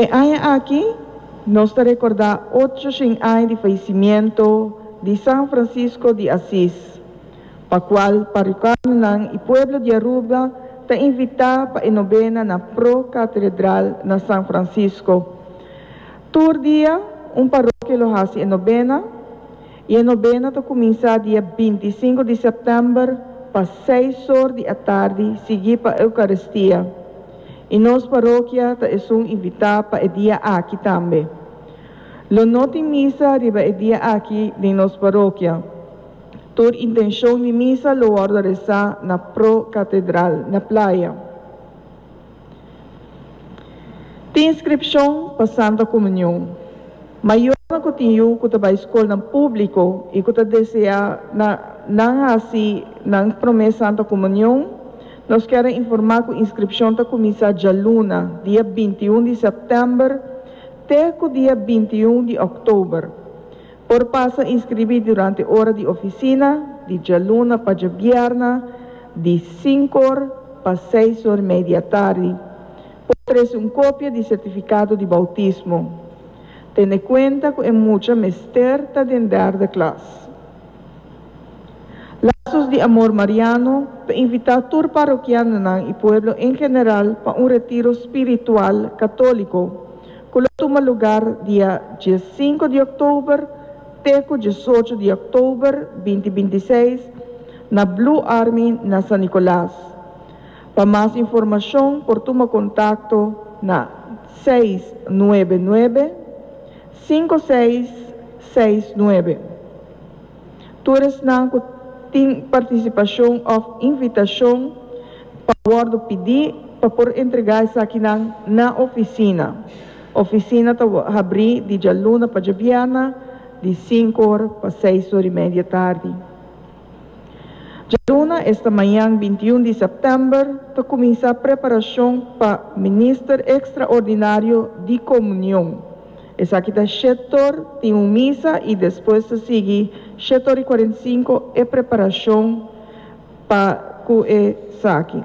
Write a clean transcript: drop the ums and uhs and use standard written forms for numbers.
E aña aki nos ta rekordá 800 aña di fayesimiento di San Francisco di Asis, pa kual parrokianonan i pueblo di Aruba ta invitá pa e nobena na Pro Katedral na San Francisco. Tur dia un parokia lo hasi e nobena i e nobena ta kuminsá dia 25 di sèptèmber pa 6 or di atardi siguí pa Eukaristia. I nos parokia ta esun invitá pa e dia aki tambe. Lo no tin misa riba e dia aki den nos parokia. Tur intenshon di misa lo wòrdu resá na Pro Katedral na Playa. Tin inskripshon pa Santa Komunion. Mayornan ku tin yu ku ta bai skolnan públiko i ku ta deseá na nan hasi nan promé Santa Komunion, nos kier a informá ku inskripshon ta kuminsá djaluna, dia 21 di sèptèmber, te ku dia 21 di òktober. Por pasa inskribí durante ora di ofisina, di djaluna pa djabièrnè, di 5 or pa 6:30 atardi. Por trese un kopia di sertifikado di boutismo. Tene kuenta ku e mucha mester ta den derde klas. Lazos di Amor Mariano ta invitá tur parokianonan i pueblo en general pa un retiro spiritual katóliko ku lo tuma lugá dia 5 di òktober te ku 18 di òktober 2026 na Blue Army na San Nicolas. Pa mas informashon por tuma kontakto na 699 5669. Tur esnan ku tin partisipashon òf invitashon pa wòrdu pidí pa por entregá esakinan na ofisina. Ofisina ta habrí di djaluna pa djabièrnè di 5 or pa 6:30 tardi. Djaluna, esta mañan 21 di sèptèmber, ta kuminsá preparashon pa minister ekstraordinario di komunion. Esaki ta 7 or tin un misa i despues ta sigui 7:45 e preparashon pa ku esaki.